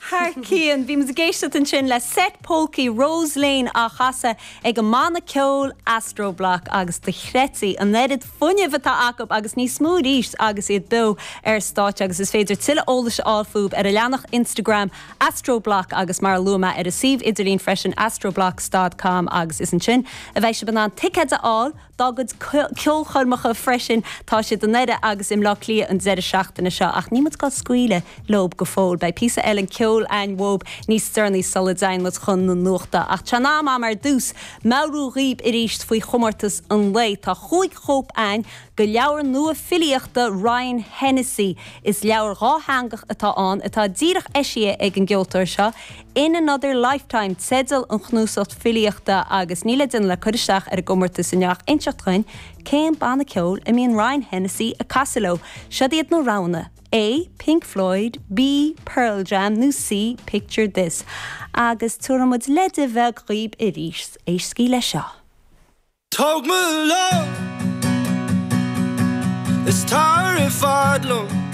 Thar cionn. Bhí muid ag éisteacht ansin le seit polcaí Rose Lane á chasadh ag an mbanna ceoil Astroblock agus dochreidte an oiread fuinnimh atá acu agus níos mó arís agus iad beo ar stáitse agus is féidir tuilleadh eolais a fháil fúthu ar a leathanach Instagram Astroblock agus mar a luaigh mé ar a suíomh idirlín freisin astroblocks dot com agus is ansin a bheidh sibh in ann ticéid a fháil dá gcuid ceolchoirmeacha freisin. Tá siad i nDoire agus i mBleá Cliath an deireadh seachtaine seo ach níl muid ag dul scaoileadh leob go fóill. Beidh píosa eile ceoil a'inn uathub níos deireanaí sula dtéann muid chun na nuachta. Ach tá sé in am a'm ar dtús meabhrú dhaoib arís faoi chomórtas an lae. Tá chúig chóip a'inn de leabhar nua filíochta Ryan Hennessy. Is leabhar dhátheangach atá ann atá díreach eisithe ag an gceoltóir seo. In Another Lifetime teideal an chnuasacht filíochta agus níl le déanamh le cur isteach ar an gcomórtas inniu ach inseacht dhuinn cén banna ceoil a mbíonn Ryan Hennessy ag casadh leo. Siod iad na roghanna, A, Pink Floyd, B, Pearl Jam nó C, Picture This. Agus tabharfaidh muid leide bheag dhaoib arís, éistigí leis seo. Tóg mo lámh is tar i bhfad liom.